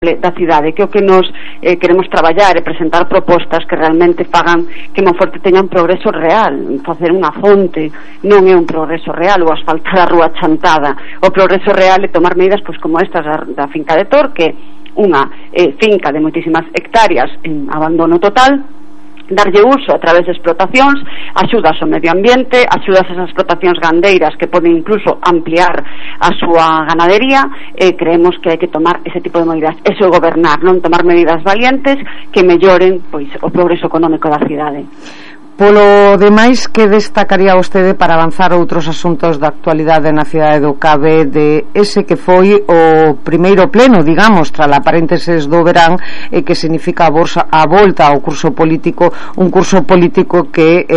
da cidade, que o que nos queremos traballar e presentar propostas que realmente fagan que Monforte teña un progreso real. Facer unha fonte non é un progreso real, ou asfaltar a rúa Chantada. O progreso real é tomar medidas pois como estas da finca de Torque, unha finca de moitísimas hectáreas en abandono total, darlle uso a través de explotacións, axudas ao medio ambiente, axudas a esas explotacións gandeiras que poden incluso ampliar a súa ganadería. Creemos que hai que tomar ese tipo de medidas, eso é gobernar, non tomar medidas valientes que melloren pois o progreso económico da cidade. Polo demais, que destacaría vostede para avanzar outros asuntos da actualidade na cidade do Cabe de ese que foi o primeiro pleno, digamos, tras a paréntesis do verán, que significa a volta ao curso político, un curso político que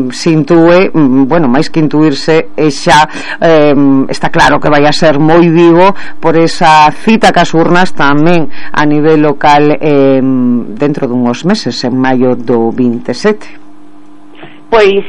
se intúe, bueno, máis que intuirse, xa está claro que vai a ser moi vivo por esa cita cas urnas tamén a nivel local dentro dunhos meses, en maio do 27. Pois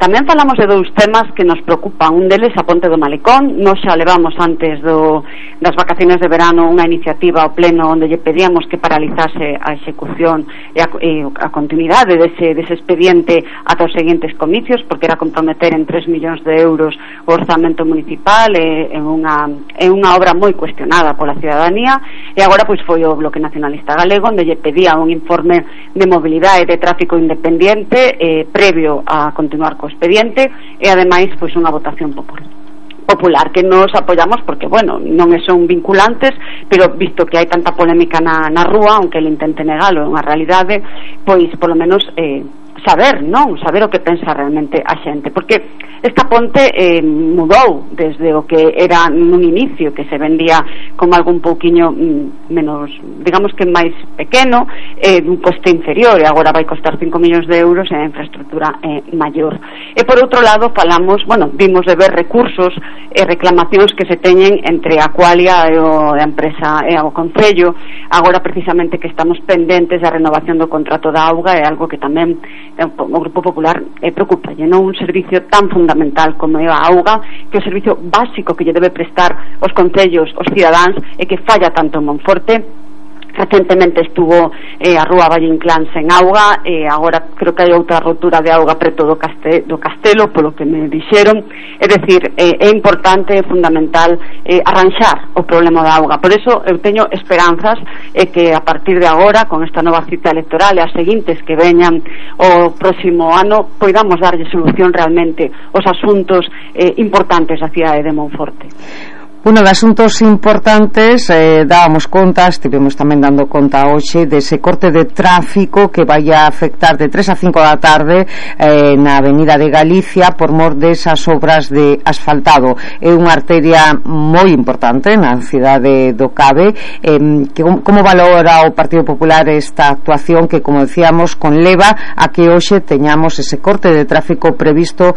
tamén falamos de dous temas que nos preocupan. Un deles a Ponte do Malecón. Nos xa levamos antes das vacaciones de verano unha iniciativa ao pleno onde lle pedíamos que paralizase a execución e a continuidade dese expediente ata os seguintes comicios, porque era comprometer en 3 millóns de euros o orzamento municipal en unha obra moi cuestionada pola cidadanía. E agora pois foi o Bloque Nacionalista Galego onde lle pedía un informe de mobilidade e de tráfico independiente previo a continuar co expediente e ademais pois unha votación popular que nos apoyamos porque, bueno, non son vinculantes, pero visto que hai tanta polémica na rúa, aunque ele intente negalo, é unha realidade, pois polo menos saber o que pensa realmente a xente, porque esta ponte mudou desde o que era nun inicio, que se vendía como algo un pouquiño menos, digamos que máis pequeno, dun coste inferior, e agora vai costar 5 millóns de euros e a infraestructura maior. E por outro lado vimos de ver recursos e reclamacións que se teñen entre a Qualia e a empresa e o Concello. Agora precisamente que estamos pendentes da renovación do contrato da auga, é algo que tamén o Grupo Popular preocupa, non un servicio tan fundamental como é a auga, que é o servicio básico que lle debe prestar os concellos, os cidadáns, e que falla tanto en Monforte. Recentemente estuvo a rúa Valle Inclán sen auga, e agora creo que hai outra rotura de auga preto do Castelo, polo que me dixeron. É dicir, é importante, é fundamental arranxar o problema da auga. Por eso eu teño esperanzas que a partir de agora, con esta nova cita electoral e as seguintes que veñan o próximo ano, poidamos darlle solución realmente aos asuntos importantes da cidade de Monforte. Uno de asuntos importantes, dábamos conta, estivemos tamén dando conta hoxe dese corte de tráfico que vai a afectar de 3 a 5 da tarde na Avenida de Galicia por mor desas obras de asfaltado. É unha arteria moi importante na cidade do Cabe. Como valora o Partido Popular esta actuación que, como decíamos, conleva a que hoxe teñamos ese corte de tráfico previsto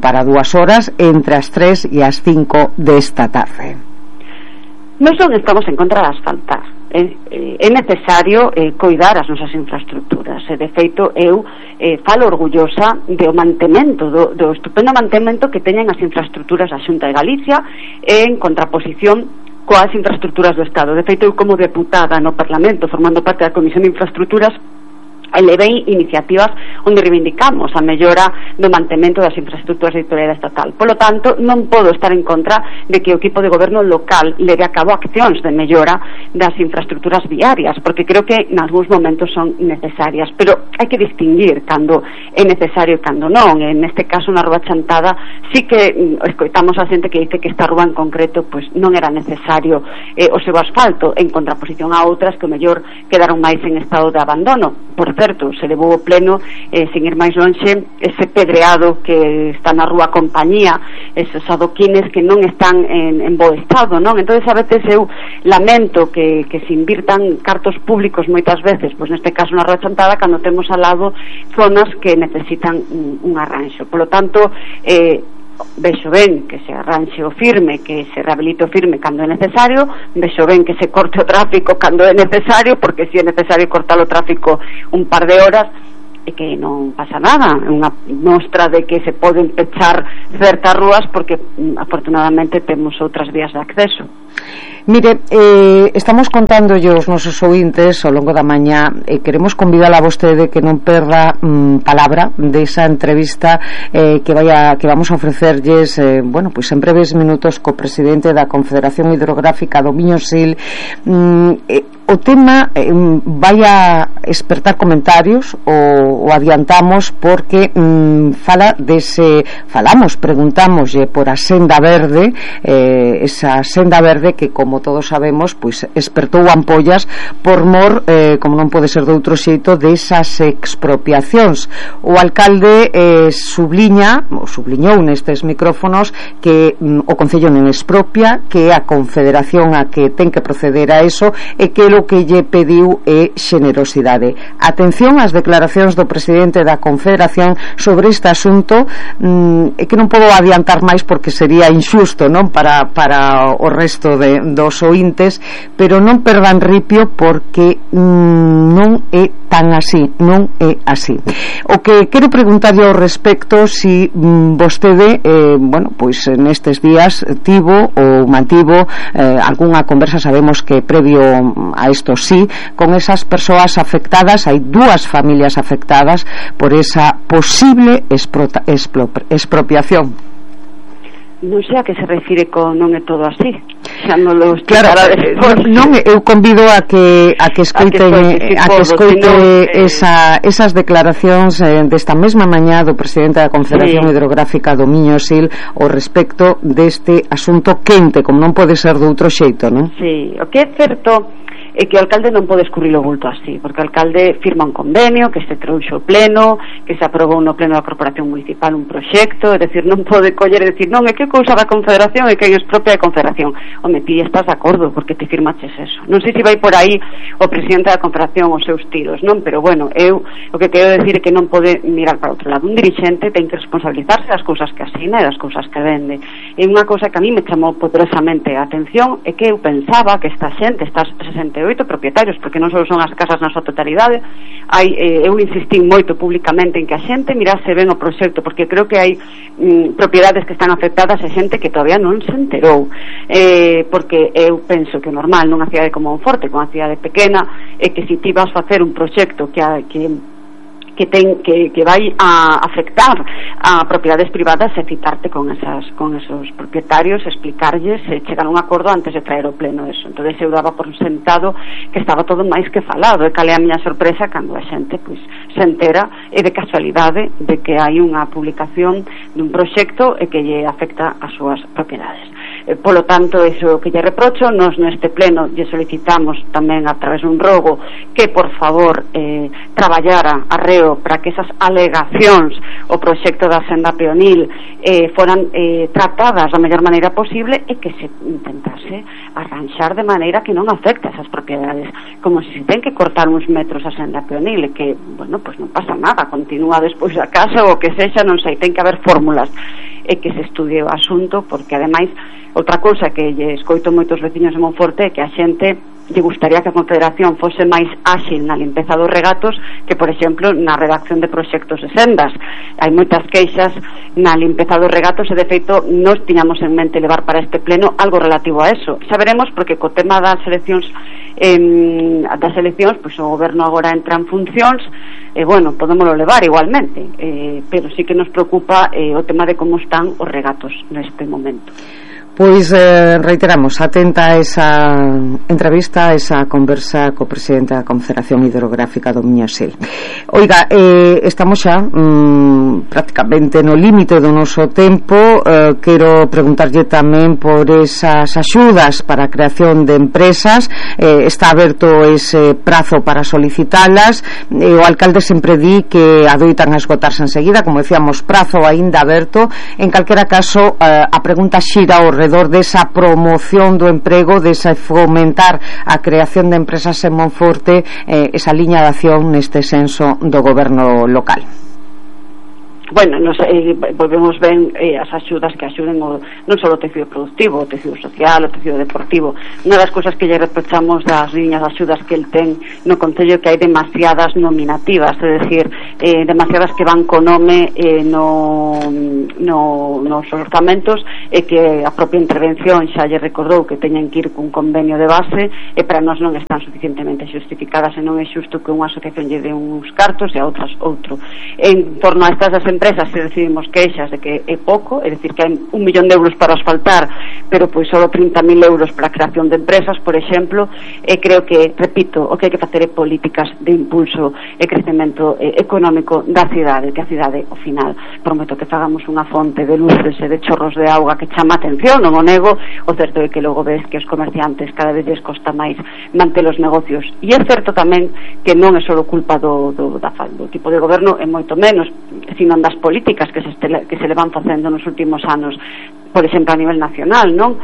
para 2 horas entre as 3 e as 5 desta tarde? Non estamos en contra de asfaltar. É necesario coidar as nosas infraestructuras. De feito, eu falo orgullosa do mantemento, do estupendo mantemento que teñen as infraestructuras da Xunta de Galicia en contraposición coas infraestructuras do Estado. De feito, eu como deputada no Parlamento, formando parte da Comisión de Infraestructuras, elevei iniciativas onde reivindicamos a mellora do mantemento das infraestructuras de titularidade estatal. Polo tanto, non podo estar en contra de que o equipo de goberno local leve a cabo accións de mellora das infraestructuras viarias, porque creo que en algúns momentos son necesarias, pero hai que distinguir cando é necesario e cando non. En este caso, na rúa Chantada, sí que escoitamos a xente que dice que esta rúa en concreto pois non era necesario o seu asfalto, en contraposición a outras que o mellor quedaron máis en estado de abandono. Por certo, se levou o pleno, sin ir máis lonxe, ese pedreado que está na rúa Compañía, esos adoquines que non están en bo estado, non? Entonces a veces eu lamento que se invirtan cartos públicos moitas veces, pois neste caso na rúa Chantada, cando temos ao lado zonas que necesitan un arranxo. Por lo tanto, vexo ben que se arranxe o firme, que se rehabilite o firme cando é necesario, vexo ben que se corte o tráfico cando é necesario, porque se é necesario cortar o tráfico un par de horas, e que non pasa nada. É unha mostra de que se poden pechar certas rúas porque afortunadamente temos outras vías de acceso. Mire, estamos contándolle aos nosos ouvintes ao longo da mañá e queremos convidar a vostede que non perda palabra desa entrevista que vamos a ofrecerlles pois en breves minutos co presidente da Confederación Hidrográfica do Miño-Sil. O tema vai a espertar comentarios o adiantamos porque preguntámoslle por a senda verde, esa senda verde que, como todos sabemos, pois espertou ampollas por mor, como non pode ser de outro xeito, desas expropiacións. O alcalde subliñou nestes micrófonos que o Concello non expropia, que a Confederación a que ten que proceder a eso e que o que lle pediu é xenerosidade. Atención ás declaracións do presidente da Confederación sobre este asunto, é que non podo adiantar máis porque sería injusto, non, para o resto dos ointes, pero non perdan ripio porque non é tan así, non é así. O que quero preguntarlle ao respecto, si vostede pois nestes días tivo ou mantivo algunha conversa, sabemos que previo a isto sí, con esas persoas afectadas. Hai 2 familias afectadas por esa posible expropiación. Non sei a que se refire con non é todo así. Xa non lo explicará despois. Non, eu convido a que escoiten esas declaracións desta mesma mañá do presidente da Confederación Hidrográfica do Miño-Sil ao respecto deste asunto quente, como non pode ser de outro xeito, non? Sí, o que é certo é que o alcalde non pode escurrir o bulto así, porque o alcalde firma un convenio que se trouxo o pleno, que se aprobou no pleno da Corporación Municipal un proxecto, é dicir, non pode coller e dicir, non, é que cousa da Confederación e quen expropia a Confederación. Home, ti estás de acordo porque te firmaches eso. Non sei se vai por aí o presidente da Confederación os seus tiros, non? Pero bueno, eu o que quero decir é que non pode mirar para outro lado. Un dirixente ten que responsabilizarse das cousas que asina e das cousas que vende. E unha cousa que a mí me chamou poderosamente a atención é que eu pensaba que esta xente, estas 68 propietarios, porque non só son as casas na súa totalidade, eu insistí moito públicamente en que a xente mirase ben o proxecto, porque creo que hai propiedades que están afectadas e xente que todavía non se enterou, porque eu penso que o normal nunha cidade como Monforte, como unha cidade pequena, é que se ti vas facer un proxecto que vai a afectar a propiedades privadas, e citarte con esos propietarios, explicarlles e chegar a un acordo antes de traer o pleno eso. Entón eu daba por sentado que estaba todo máis que falado, e cal é a miña sorpresa cando a xente pois se entera e de casualidade de que hai unha publicación dun proxecto e que lle afecta as súas propiedades. Polo tanto, iso que lle reprocho, nos neste pleno lle solicitamos tamén a través dun rogo que por favor traballara arreo para que esas alegacións o proxecto da senda peonil foran tratadas da mellor maneira posible e que se intentase arranxar de maneira que non afecte a esas propiedades, como se ten que cortar uns metros a senda peonil e que, bueno, pois non pasa nada, continúa despois da casa ou que sexa, non sei, ten que haber fórmulas e que se estudie o asunto, porque ademais outra cousa que lle escoito moitos veciños de Monforte é que a xente lle gustaría que a Confederación fose máis áxil na limpeza dos regatos que, por exemplo, na redacción de proxectos de sendas. Hai moitas queixas na limpeza dos regatos e, de feito, nos tiñamos en mente levar para este pleno algo relativo a eso. Xa veremos, porque co tema das eleccións pois o goberno agora entra en funcións e, bueno, podémoslo levar igualmente, pero sí que nos preocupa o tema de como están os regatos neste momento. Pois reiteramos, atenta a esa entrevista, a esa conversa co presidente da Confederación Hidrográfica do Miño-Sil. Oiga, estamos xa prácticamente no límite do noso tempo. Quero preguntarlle tamén por esas axudas para a creación de empresas. Está aberto ese prazo para solicitalas. O alcalde sempre di que adoitan a esgotarse enseguida, como decíamos, prazo aínda aberto. En calquera caso, a pregunta xira ao redor desa promoción do emprego, desa fomentar a creación de empresas en Monforte, esa liña de acción neste senso do goberno local. bueno, volvemos ben as axudas que axuden non só o tecido productivo, o tecido social, o tecido deportivo. Unha das cousas que lle reprochamos das liñas de axudas que el ten no Concello que hai demasiadas nominativas, é dicir, demasiadas que van co nome nos orzamentos, e que a propia intervención xa lle recordou que teñen que ir cun convenio de base, e para nós non están suficientemente xustificadas, e non é xusto que unha asociación lle dé uns cartos e a outras outro. En torno a estas das empresas se recibimos queixas de que é pouco, é dicir, que hai 1 millón de euros para asfaltar, pero pois só 30.000 euros para a creación de empresas, por exemplo, e creo que, repito, o que hai que facer é políticas de impulso e crecemento económico da cidade, que a cidade, ao final, prometo que fagamos unha fonte de luces e de chorros de auga que chama a atención, non o nego. O certo é que logo ves que os comerciantes cada vez lles costa máis manter os negocios, e é certo tamén que non é só culpa do tipo de goberno, e moito menos, sino das políticas que se le van facendo nos últimos anos, por exemplo a nivel nacional, non?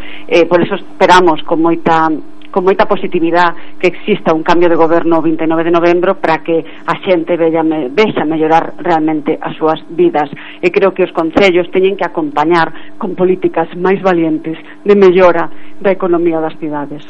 Por eso esperamos con moita positividade que exista un cambio de goberno o 29 de novembro para que a xente vexa mellorar realmente as súas vidas, e creo que os concellos teñen que acompañar con políticas máis valientes de mellora da economía das cidades.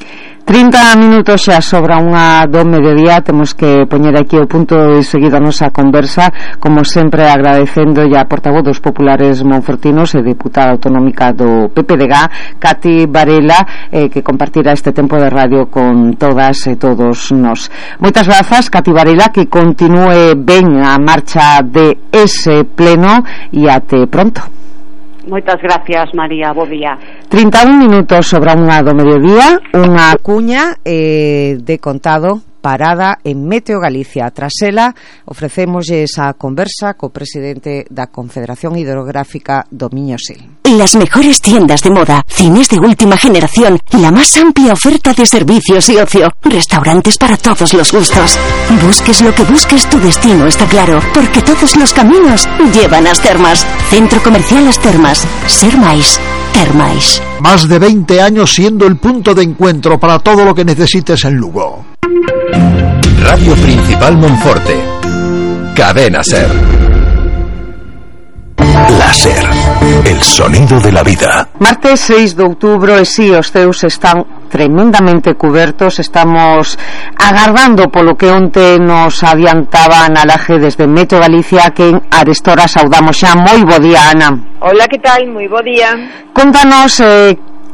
30 minutos xa sobra unha do mediodía. Temos que poñer aquí o punto de seguida a nosa conversa, como sempre agradecendo a portavoz dos populares monfortinos e deputada autonómica do PPDG, Cati Varela, que compartirá este tempo de radio con todas e todos nós. Moitas grazas, Cati Varela, que continúe ben a marcha de ese pleno e até pronto. Moitas gracias, María, bo día. 31 minutos sobre unha do mediodía, unha cuña de contado parada en Meteo Galicia. Tras ela, ofrecémoslle esa conversa co presidente da Confederación Hidrográfica do Miño Sil. Las mejores tiendas de moda, cines de última generación, la más amplia oferta de servicios y ocio, restaurantes para todos los gustos. Busques lo que busques, tu destino está claro, porque todos los caminos llevan a As Termas. Centro Comercial As Termas. Ser máis, ter máis. Más de 20 años siendo el punto de encuentro para todo lo que necesites en Lugo. Radio Principal Monforte. Cadena Ser. La Ser, el sonido de la vida. Martes 6 de outubro, e si os ceus están tremendamente cubertos. Estamos agardando polo que onte nos adiantaba Ana Laje desde Meteo Galicia, que en Arestora saudamos xa. Moi bo día, Ana. Hola, que tal? Moi bo día. Contanos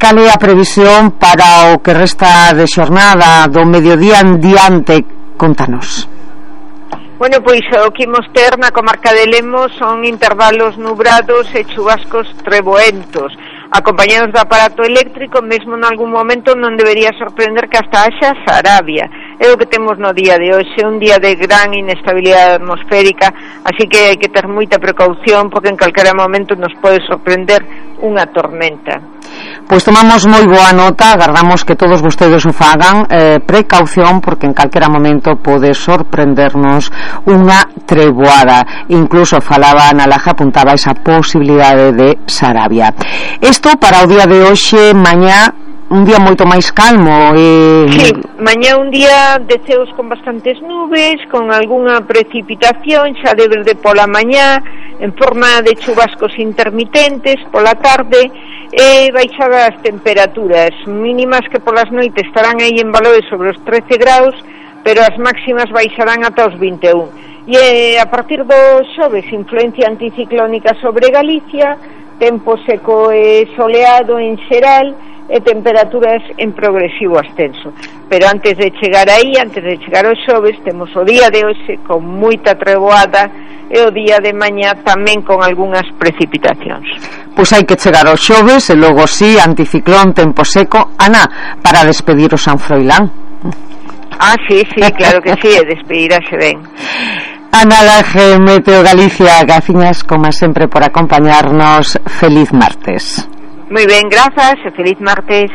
cal é a previsión para o que resta de xornada do mediodía en diante. Contanos. Bueno, pois o que imos ter na comarca de Lemos son intervalos nubrados e chubascos treboentos, acompañados do aparato eléctrico. Mesmo en algún momento non debería sorprender que hasta haxa Sarabia. É o que temos no día de hoxe, un día de gran inestabilidade atmosférica, así que hai que ter moita precaución, porque en calquera momento nos pode sorprender unha tormenta. Pois tomamos moi boa nota, agardamos que todos vostedes o fagan, precaución, porque en calquera momento pode sorprendernos unha treboada. Incluso falaba Ana Laje, apuntaba esa posibilidade de Sarabia. Isto para o día de hoxe. Mañá un día moito máis calmo. Sí, mañá un día de ceos con bastantes nubes, con algunha precipitación xa de verde pola mañá, en forma de chubascos intermitentes pola tarde, e baixadas temperaturas mínimas que polas noites estarán aí en valores sobre os 13 graus, pero as máximas baixarán ata os 21. E a partir do xoves, influencia anticiclónica sobre Galicia, tempo seco e soleado en xeral, e temperaturas en progresivo ascenso. Pero antes de chegar aí, antes de chegar aos xoves, temos o día de hoxe con moita treboada e o día de mañá tamén con algunhas precipitacións. Pois hai que chegar aos xoves e logo sí, anticiclón, tempo seco. Ana, para despedir o San Froilán. Sí, claro que sí, e despedirase ben. Ana Laje, Meteo Galicia, gracias como sempre por acompañarnos. Feliz martes. Moi ben, grazas e feliz martes.